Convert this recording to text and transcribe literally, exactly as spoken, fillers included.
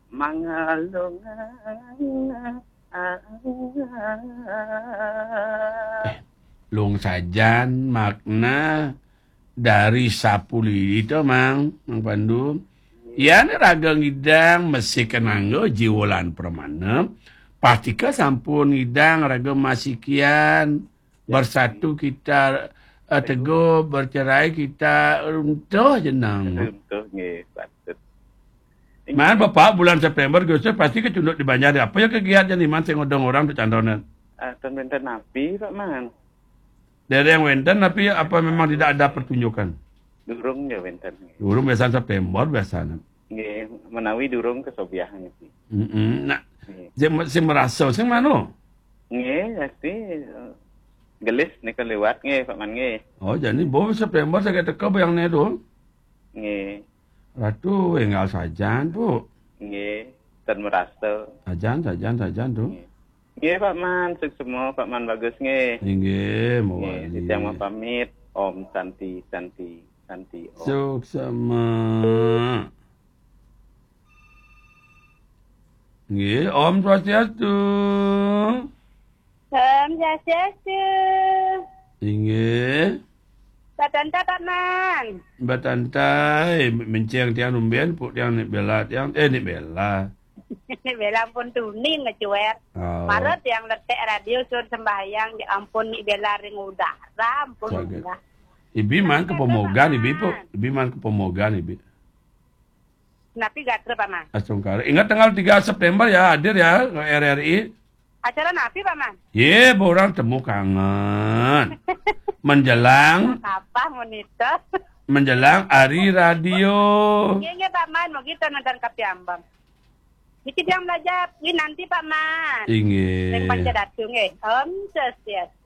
Mangalung. Eh, lung sajan makna dari sapulidi to, Mang, Mang Pandu. Yan raga ngidang masi ka nangga jiwa lan pramana, pastika sampun ngidang raga masikian, bersatu kita, eh, teguh, bercerai kita runtuh jenang. Runtuh, nggih, patut. Man, Bapak, bulan September, Agustus pasti kecunduk di banjar. Apa ya kegiatan di man sing ngodong orang tu cantonan? Ah, ten wenten napi, Pak Man. Dereng wenten, tapi apa memang tidak ada pertunjukan? Durung ya wenten, nggih. Durung biasa September, biasanya. Nggih, menawi durung kesobiahan niki. Mm-mm. Nah, nggih. Sing, sing merasa, sing mano? Nggih, pasti, eh, gelis nika liwat, nggih, Pak Man, nggih. Oh, jadi bau September saya teka bayang ni tu. Nggih. Ratu enggal sajan, Bu. Nggih, ten merasa. Sajan, sajan, sajan tu. Nggih. Nggih, Pak Man, suksma, Pak Man bagus, nggih. Inggih, nggih, mawali. Titiang mapamit. Om Santi, Santi, Santi, Om. Suksma. Nggih, Om Swastiastu. Om Swastiastu. Inggih. Batanta, Pak Man. Batanta, eh, menceng tiang numben, puk tiang nik bela tiang, eh, nik bela. Nik bela ampun tuni ngecuer. Oh. Mara tiang letek radio sur sembahyang, ya ampun, nik bela ring udara, ampun. Saget. Enggak. Ibi man ke Pemogan, Ibi, Puk. Ibi man ke Pemogan, Ibi. Napi gatra, Pak Man? Astungkara. Ingat tanggal tiga September ya, hadir ya, ke R R I. Acara napi, Pak Man? Ye, orang temu kangen. Menjelang apa, monitor? Menjelang hari radio. Nggih, nggih, Pak Man, mau kita nonton kapiambang. Niki tiang belajar, nggih, nanti, Pak Man. Inggih. Ring Panca Datu, nggih. Om Swastiastu.